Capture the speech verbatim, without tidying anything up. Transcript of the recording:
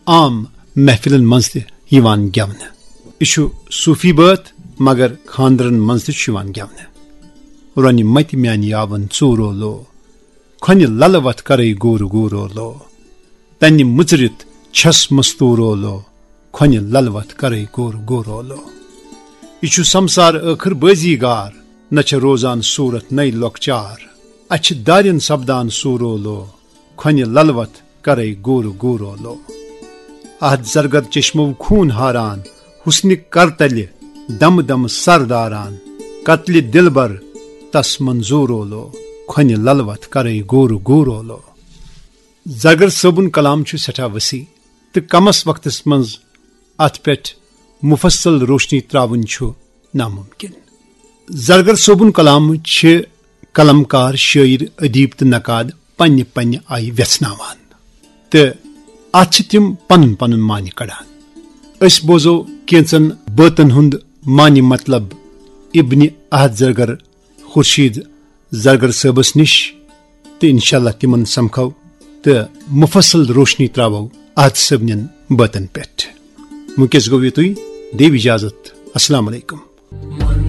عام محفلن منٛز تہِ یِوان گٮ۪ونہٕ۔ یہِ چھُ صوٗفی بٲتھ، مگر خانٛدرن منٛز تہِ چھُ یِوان گٮ۪ونہٕ۔ رۄنہِ متہِ میانہِ یاون ژوٗرو لو، کھۄنہِ للہٕ وتھ کرے گورٕ گورو لو۔ تنہِ مُژرِتھ چھس مستوٗرو لو، کھۄنہِ للہٕ وتھ کرے گورٕ گورو لو۔ یہِ چھُ سمسار ٲخٕر بٲزی گار، نہ چھےٚ روزان صوٗرت نَے لۄکچار۔ اَتھ چھِ دارٮ۪ن سپدان سوٗرو لو، کھۄنہِ للہٕ وتھ کرے گورٕ گورو لو۔ اَتھ زرگر چشمو خوٗن ہاران، حُسنہِ کرتلہِ دمہٕ دمہٕ سر داران، قتلہِ دلبر تس منظوٗرو لو، کھۄنہِ للہٕ وتھ کرے گورٕ گورو لو۔ زرگر صٲبُن کلام چھُ سٮ۪ٹھاہ وسیع تہٕ کمس وقتس منٛز اتھ پٮ۪ٹھ مفصل روشنی تراوٕنۍ چھُ ناممکن۔ زرگر صٲبُن کلام چھِ قلمکار، شٲعر، ادیب تہٕ نقاد پننہِ پننہِ آیہِ ویژھناوان تہٕ اتھ چھِ تِم پنُن پنُن معنی کڑان۔ أسۍ بوزو کینژن بٲتن ہُنٛد معنی مطلب ابن احد زرگر خورشید زرگر صٲبس نِش تہٕ انشاءاللہ تِمن سمکھو تہٕ مفصل روشنی تراوو احد صٲبنٮ۪ن بٲتن پٮ۪ٹھ۔ وٕنکیٚس گوٚو یُتُے، دِیِو اجازت، السلام علیکم۔